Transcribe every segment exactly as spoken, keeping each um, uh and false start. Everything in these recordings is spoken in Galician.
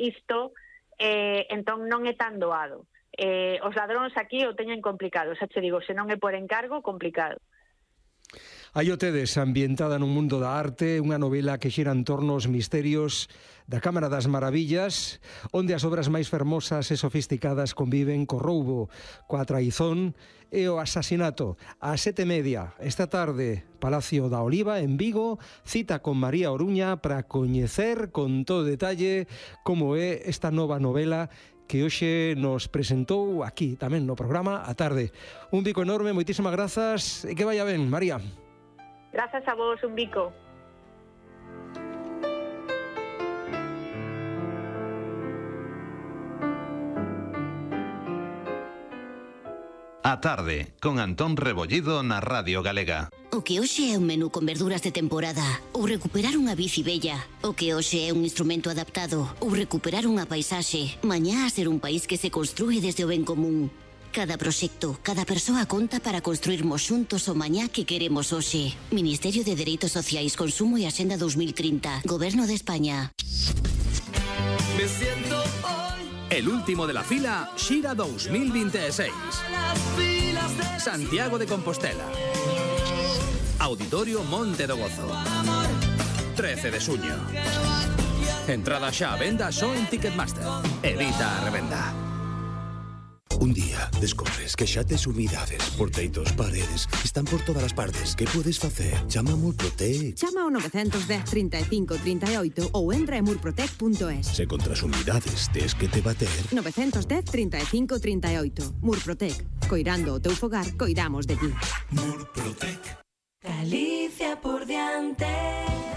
isto, eh, entón non é tan doado. Eh, os ladróns aquí o teñen complicado, xa te digo, se non é por encargo, complicado. Aí o tedes, ambientada nun mundo da arte, unha novela que xira en torno aos misterios da Cámara das Maravillas, onde as obras máis fermosas e sofisticadas conviven co roubo, coa traizón e o asasinato. A sete media, esta tarde, Palacio da Oliva, en Vigo, cita con María Oruña para coñecer con todo detalle como é esta nova novela que hoxe nos presentou aquí, tamén no programa A Tarde. Un bico enorme, moitísimas grazas e que vaya ben, María. Grazas a vos, un bico. A Tarde, con Antón Rebollido na Radio Galega. O que hoxe é un menú con verduras de temporada, ou recuperar unha bici bella. O que hoxe é un instrumento adaptado, ou recuperar unha paisaxe. Mañá a ser un país que se construe desde o ben común. Cada proxecto, cada persoa conta para construirmos xuntos o mañá que queremos hoxe. Ministerio de Dereitos Sociais, Consumo e Axenda dos mil trinta. Goberno de España. Me siento hoy. El último de la fila, Xira dos mil veintiséis. Santiago de Compostela. Auditorio Monte do Gozo. trece de suño. Entrada xa a venda só en Ticketmaster. Evita a revenda. Un día descobres que xa tes humidades por teitos, paredes, están por todas as partes. Que podes facer? Chama a Murprotec. Chama ao nove un cero, trinta e cinco, trinta e oito ou entra en murprotec punto es. Se contra as humidades tes que te bater. nove un cero, trinta e cinco, trinta e oito. Murprotec. Coirando o teu fogar, coidamos de ti. Murprotec. Galicia por diante.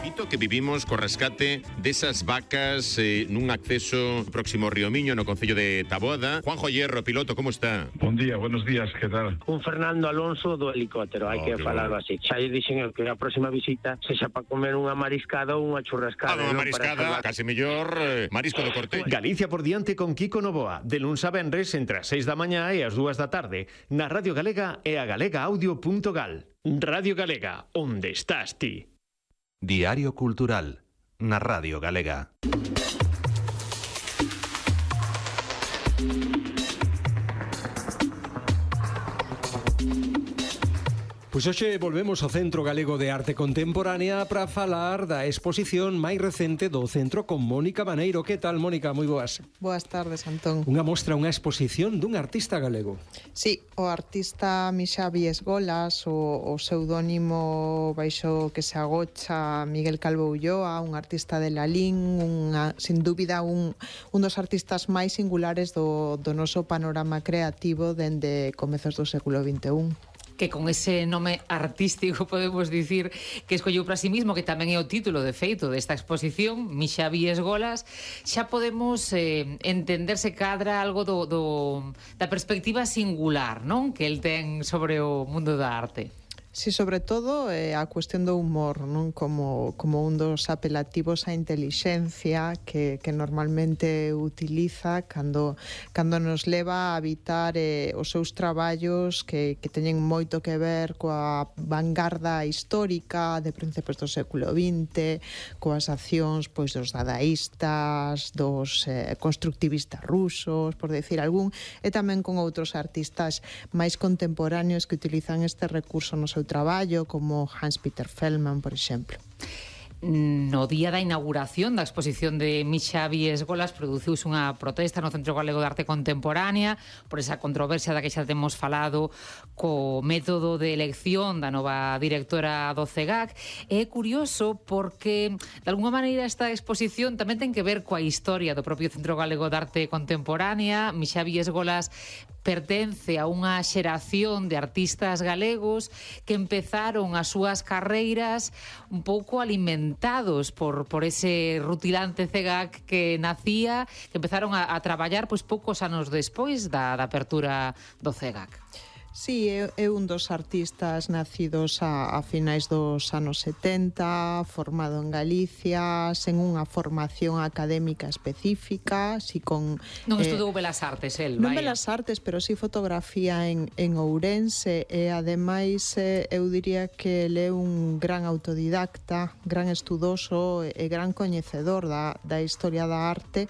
Dito que vivimos co rescate desas vacas eh, nun acceso próximo ao Río Miño no concello de Taboada. Juanjo Hierro, piloto, como está? Bon día, buenos días, que tal? Un Fernando Alonso do helicóptero, hai oh, que falarlo bueno. así. Xa lle dixen eu que a próxima visita sexa para comer unha mariscada ou unha churrascada. Ah, unha mariscada, case mellor eh, marisco do corte. Galicia por diante con Kiko Novoa, de luns a venres entre as seis da mañá e as dúas da tarde, na Radio Galega e a galega audio punto gal. Radio Galega, onde estás ti? Diario Cultural, na Radio Galega. Pois hoxe volvemos ao Centro Galego de Arte Contemporánea para falar da exposición máis recente do centro con Mónica Maneiro. Que tal, Mónica? Moi boas. Boas tardes, Antón. Unha mostra, unha exposición dun artista galego. Sí, o artista Mixavi Esgolas, o, o pseudónimo baixo que se agocha Miguel Calvo Ulloa, un artista de Lalín, unha, sin dúbida un, un dos artistas máis singulares do, do noso panorama creativo dende comezos do século vinte e un. Que con ese nome artístico podemos dicir que escolleu para sí mismo, que tamén é o título de feito desta exposición, Mixavi Esgolas, xa podemos eh, entender se cadra algo do, do, da perspectiva singular, non? Que el ten sobre o mundo da arte. Sí, sobre todo eh, a cuestión do humor, non? Como, como un dos apelativos á intelixencia que, que normalmente utiliza cando, cando nos leva a habitar eh, os seus traballos que, que teñen moito que ver coa vanguarda histórica de principios do século vinte, coas accións pois dos dadaístas, dos eh, constructivistas rusos, por decir algún, e tamén con outros artistas máis contemporáneos que utilizan este recurso no seu traballo, como Hans-Peter Feldman, por exemplo. No día da inauguración da exposición de Mixavi Esgolas produciuse unha protesta no Centro Galego de Arte Contemporánea por esa controversia da que xa temos falado co método de elección da nova directora do C E G A C. É curioso porque de alguna maneira esta exposición tamén ten que ver coa historia do propio Centro Galego de Arte Contemporánea. Mixavi Esgolas pertence a unha xeración de artistas galegos que empezaron as súas carreiras un pouco alimentados por, por ese rutilante C E G A C que nacía, que empezaron a, a traballar pois poucos anos despois da, da apertura do C E G A C. Sí, é, é un dos artistas nacidos a, a finais dos anos setenta, formado en Galicia, sen unha formación académica específica, si con... Non eh, estudou Belas Artes, el, Non vaya. Belas Artes, pero si fotografía en, en Ourense, e ademais eh, eu diría que ele é un gran autodidacta, gran estudoso e gran coñecedor da, da historia da arte,